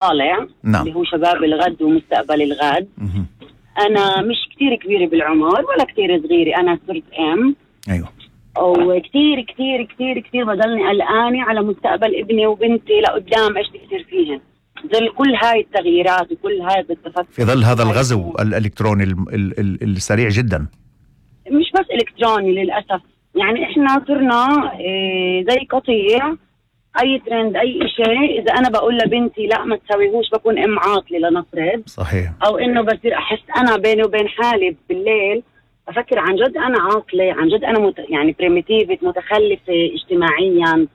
طالع اللي هو شباب الغد ومستقبل الغد. أنا مش كتير كبيرة بالعمر ولا كتير صغيرة، أنا صرت أيوة. وكتير كتير كتير كتير بضلني قلقانة على مستقبل ابني وبنتي لقدام، إيش بيصير فيهن ظل كل هاي التغييرات وكل هاي التفكير في ظل هذا الغزو الإلكتروني السريع جدا. مش بس إلكتروني للأسف، يعني إحنا صرنا زي قطيع، أي ترند أي شيء إذا أنا بقول لبنتي لا ما تسويهوش بكون أم عاطلة لنفرض. صحيح. أو إنه بصير أحس أنا بيني وبين حالي بالليل أفكر عن جد أنا عاطلة، عن جد أنا يعني بريميتيفة متخلفة اجتماعيا،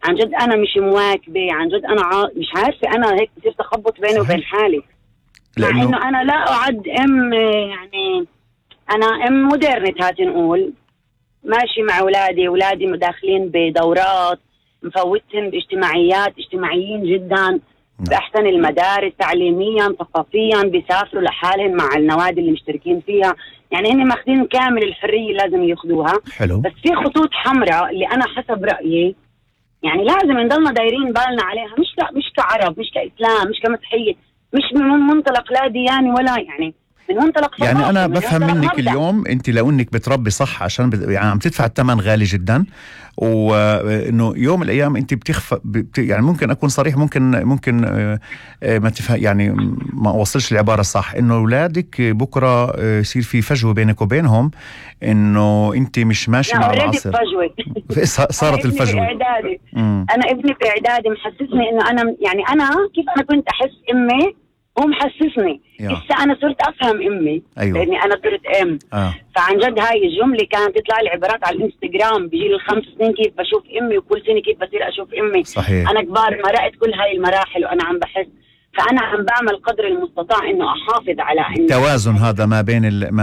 عن جد أنا مش مواكبة، عن جد أنا مش عارفة، أنا هيك بصير تخبط بيني وبين حالي، مع إنه أنا لا أعد أم، يعني أنا أم مودرنت هاتي نقول، ماشي مع أولادي داخلين بدورات، مفوتهم باجتماعيات، اجتماعيين جدا بأحسن المدارس تعليميا ثقافيا، بيسافروا لحالهم مع النوادي اللي مشتركين فيها، يعني هن ماخذين كامل الحرية لازم ياخذوها. حلو. بس في خطوط حمراء اللي أنا حسب رأيي يعني لازم نضلنا دايرين بالنا عليها، مش كعرب، مش كإسلام، مش كمسيحية، مش من منطلق لا دياني ولا يعني من منطلق يعني أنا بفهم منك اليوم أنت لو أنك بتربي صح عشان يعني عم تدفع الثمن غالي جدا، وإنه يوم الأيام أنت يعني ممكن أكون صريح، ممكن ما تفهم، يعني ما وصلش العبارة صح، إنه أولادك بكرة يصير في فجوة بينك وبينهم، إنه أنت مش ماشي مع العصر. صارت الفجوة. أنا ابني في إعدادي محسسني إنه أنا يعني أنا كيف أنا كنت أحس أمي هو محسسني لسه أنا صرت أفهم أمي. أيوة. لأني أنا صرت أم. فعن جد هاي الجملة كانت تطلع لي عبارات على الانستغرام بجيل ال5 سنين كيف بشوف أمي، وكل سنة كيف بصير أشوف أمي. صحيح. أنا كبار مرقت كل هاي المراحل وأنا عم بحس، فأنا عم بعمل قدر المستطاع إنه أحافظ على التوازن هذا ما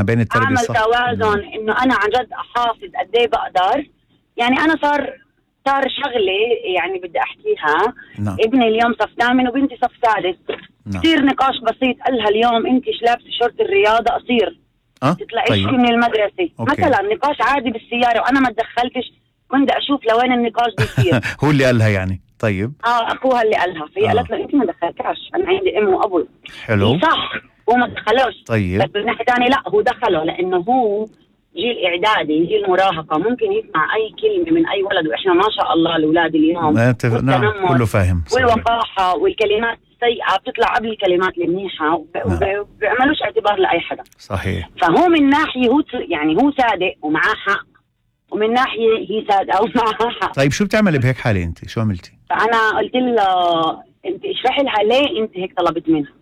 بين التربية الصح. أعمل توازن إنه أنا عن جد أحافظ قد إيه بقدر. يعني أنا صار شغلة يعني بدي أحكيها. ابني اليوم صف 8 وبنتي صف 6. يصير نقاش بسيط، قالها اليوم انت ايش لابسه شورت الرياضه قصير تطلعيش طيب. من المدرسه. مثلا نقاش عادي بالسياره وانا ما تدخلتش، كنت اشوف لوين النقاش بيصير. هو اللي قالها يعني. طيب اخوها اللي قالها، فهي قالت له انت ما دخلتهاش، انا عندي ام وابو. حلو صح، هو ما دخلوش. طيب. بس من ناحيه ثانيه لا، هو دخله لانه هو جيل اعدادي، جيل مراهقه، ممكن يسمع اي كلمه من اي ولد، واحنا ما شاء الله الاولاد اليوم نعم كله فاهم. والوقاحه والكلمات السيئه بتطلع قبل الكلمات المنيحه، وبيعملوش اعتبار لاي حدا. صحيح. فهو من ناحيه هو يعني هو صادق ومعاه حق، ومن ناحيه هي صادقه ومعها حق. طيب شو بتعملي بهيك حاله انت؟ شو عملتي؟ فانا قلت لها انت اشرحي لها ليه انت هيك طلبت منها.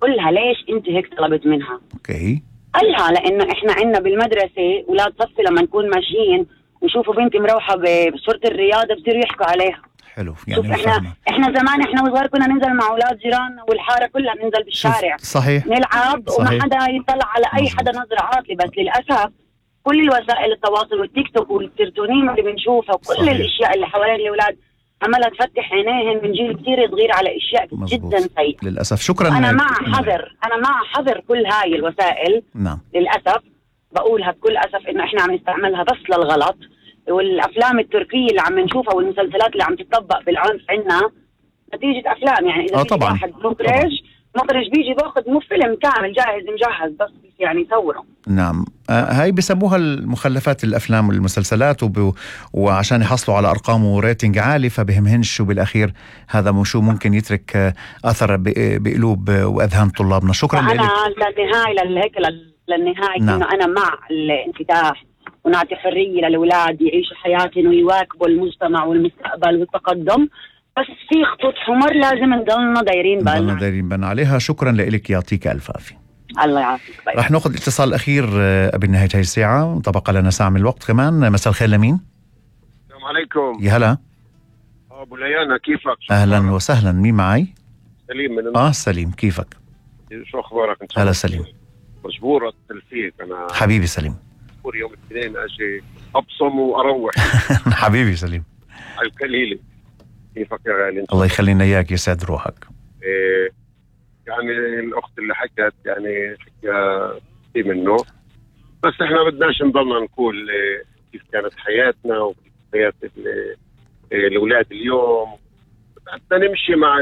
قل لها ليش انت هيك طلبت منها. اوكي. قالها لانه احنا عندنا بالمدرسه اولاد صفي لما نكون ماشيين ويشوفوا بنتي مروحه بصورة الرياضه بصيروا يحكوا عليها. حلو. يعني احنا زمان احنا وصغار كنا ننزل مع اولاد جيراننا والحاره كلها ننزل بالشارع. صحيح. نلعب. صحيح. وما حدا يطلع على اي حدا نظره عاطله. بس للاسف كل الوسائل التواصل والتيك توك والسيرتونين اللي بنشوفها وكل صحيح. الاشياء اللي حوالين الاولاد عمالها تفتح عينيهن من جيل كثير صغير على اشياء جدا سيئه للاسف. شكرا. انا مع حذر كل هاي الوسائل. نعم. للاسف بقولها بكل اسف انه احنا عم نستعملها بس للغلط. والافلام التركيه اللي عم نشوفها والمسلسلات اللي عم تطبق بالعنف عندنا نتيجه افلام. يعني اذا في واحد مخرج بيجي باخذ مو فيلم كامل جاهز مجهز بس يعني يصوره. نعم. هاي بسموها المخلفات الافلام والمسلسلات وعشان يحصلوا على ارقام وريتنج عالي، فبهمهنش وبالاخير هذا شو ممكن يترك اثر بقلوب واذهان طلابنا. شكرا لك. انا للنهايه نعم. انه انا مع الانفتاح ونعطي حريه للاولاد يعيشوا حياتهم ويواكبوا المجتمع والمستقبل والتقدم، بس في خطوط حمر لازم نضلنا دايرين بالنا عليها. شكرا لك، يعطيك الف عافيه. الله يعافيك. رح ناخذ الاتصال الاخير قبل نهايه هاي الساعه، طبقا لنا ساعه من الوقت كمان. مساء الخير لمين؟ السلام عليكم. يا هلا. ابو ليانا كيفك؟ اهلا وسهلا. مين معي؟ سليم من سليم كيفك؟ شو اخبارك انت؟ هلا سليم. مجبور اتصل فيك انا حبيبي سليم. مجبور يوم الاثنين اجي ابصم واروح. حبيبي سليم على القليله. كيفك يا غالي؟ الله يخلينا اياك، يسعد روحك. يعني الاخت اللي حكت يعني حكى في منه، بس احنا بدناش نضلنا نقول كيف كانت حياتنا وكيف حياة الاولاد اليوم. بدنا نمشي مع